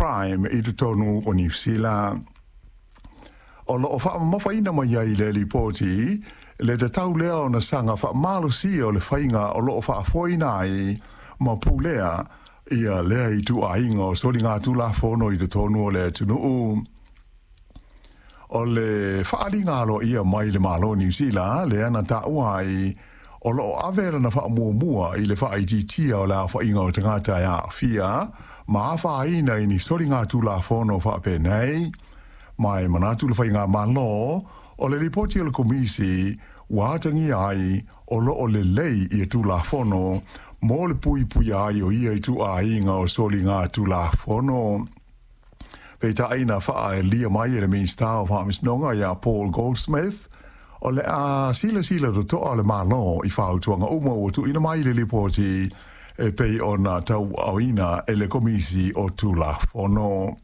Crime i totonu o Niu Sila. O loo faamamafaina mai ai le lipoti le tatau lea ona saga faamalosia o le faiga o loo faafoeina ai ma pulea ia lea ituaiga o soligatulafono i totonu o le atunuu. O le faaaliga aloaia mai le Malo o Niu Sila lea na taua ai o loo ave lana faamuamua i le faaitiitia o le aofaiga o tagata e aafia ma afaina i ni soligatulafono faapenei. Ma e manatu le faigamalo o le lipoti a le Komisi ua atagia ai o loo lelei ia Tulafono mo le puipuia ai o ia ituaiga o soligatulafono. Peitai na faaelia mai e le Minisita o Faamasinoga ia Paul Goldsmith, o le a silasila totoa le Malo i fautuaga uma ua tuuina mai i le lipoti e pei ona tauaaoina e le Komisi o Tulafono.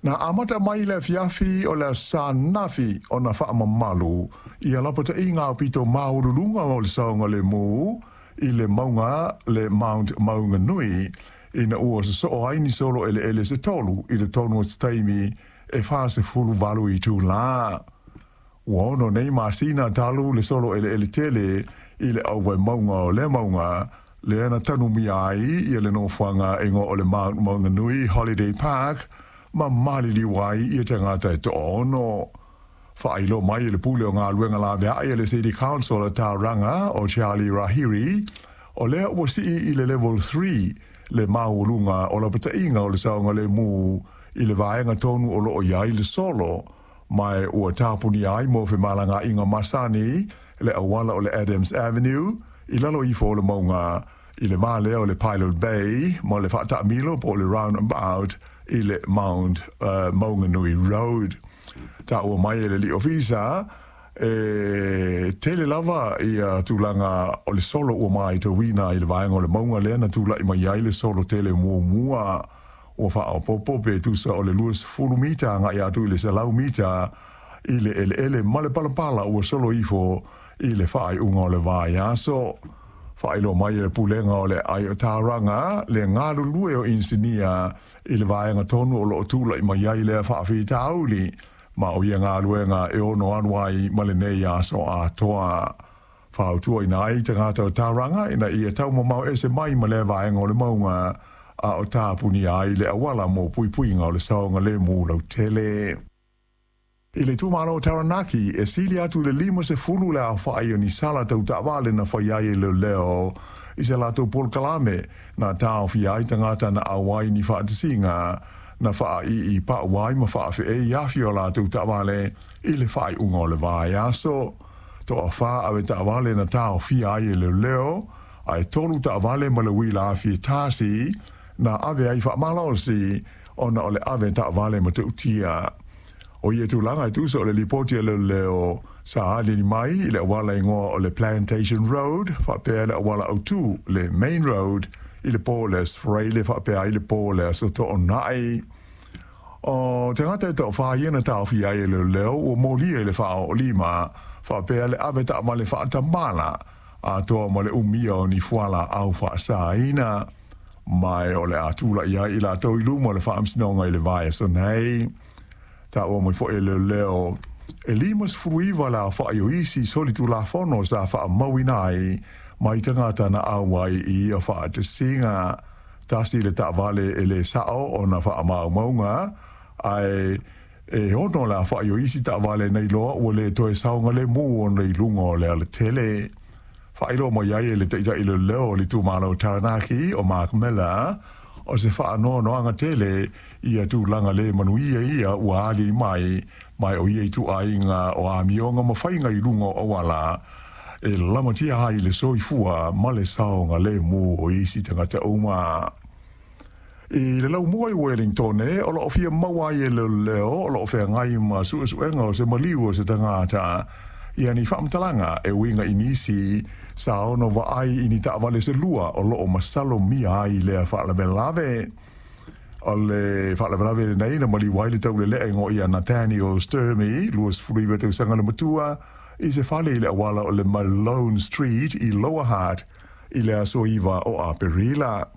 Na amata mai le afiafi o le Aso Sa ananafi ona faamamalu ia lapataiga aupito maualuluga o le saogalemu i le mauga le Mount Maunganui ina ua sosoo ai ni solo eleele se tolu i totonu o se taimi e 48 itulā. Ua ono nei masina talu le solo eleele tele i le auvae mauga o lea mauga lea na tanumia ai ia le nofoaga e igoa o le Mount Maunganui Holiday Park ma maliliu ai ia tagata e toaono. Faailoa mai e le Pule o Galuega Laveai a le City Council a Tauranga o Charlie Rahiri, o lea ua sii i le Level 3 le maualuga o lapataiga o le saogalemu i le vaega tonu o loo i ai le solo, ma ua tapunia ai mo femalagaaiga masani le auala o le Adams Avenue i lalo ifo o le mauga i le va lea o le Pilot Bay ma le faataamilo po o le roundabout i le Mount Maunganui Road. Taua mai e le alii ofisa e tele lava ia tulaga o le solo ua matauina i le vaega o le mauga lea na tulai mai ai le solo tele muamua. Ua faaopoopo pe tusa o le 20 mita agai atu i le 100 mita i le eleele ma le palapala ua solo ifo i le faaiuga o le vaiaso. Faailoa mai e le Pulega o le Aai o Tauranga le galulue o inisinia i le vaega tonu o loo tulai mai ai lea faafitauli, ma o ia galuega e ono alu ai ma lenei aso atoa. Fautuaina ai tagata o Tauranga ina ia taumamao ese mai ma lea vaega o le mauga a o tapunia ai le auala mo puipuiga o le saogalemu lautele. I le itumalo o Taranaki, e sili atu i le 50 le aofai o ni sala tau taavale na fai ai e leoleo i se latou polokalame na taofia ai tagata na auai ni faatasiga na faaii pau ai ma faafeei afi o latou taavale i le faaiuga o le vaiaso. Toafa ave taavale na taofia ai e leoleo, ae tolu taavale ma le uila afi e tasi na ave ai faamalosi ona o le ave taavale matautia. O ia tulaga e tusa o le lipoti a leoleo sa aliali mai i le auala igoa o le Plantation Road faapea le auala autu le Main Road i le po o le Aso Faraile faapea ai le po o le Aso Toonai. O tagata e toafa ia na taofia ai e leoleo ua molia i le faaoolima faapea le ave taavale faatamala atoa ma le umia o ni fualaau faasaina. Ma o le a tulai ai i latou i luma o le faamasinoga i le vaiaso nei. Taua mai foi e leoleo e 59 le aofai o isi solitulafono sa faamauina ai mai tagata na auai i ia faatasiga. Tasi le taavale e le sao ona faamaumauga, ae e ono le aofai o isi taavale na iloa ua le toe saogalemu ona i luga o le alatele. Faailoa mai ai e le taitai leoleo o le itumalo o Taranaki o Mark Miller, o se faanoanoaga tele ia tulaga le manuia ia ua aliali mai, ma o ia ituaiga o amioga ma faiga i luga o auala e lamatia ai le soifua ma le saogalemu o isi tagata uma. I le laumua i Wellingtone, o loo fia maua ai e leoleo o loo feagai ma suesuega o se maliu o se tagata ia ni faamatalaga e uiga i nisi sa ono vaai i ni taavale se lua o loo masalomia ai lea faalavelave. O le faalavelave lenei na maliu ai le taulelea igoa ia Nathaniel Sturmey, 29 tausaga le matua, i se fale i le auala o le Malone Street i Lower Hutt i le aso 9 o Aperila.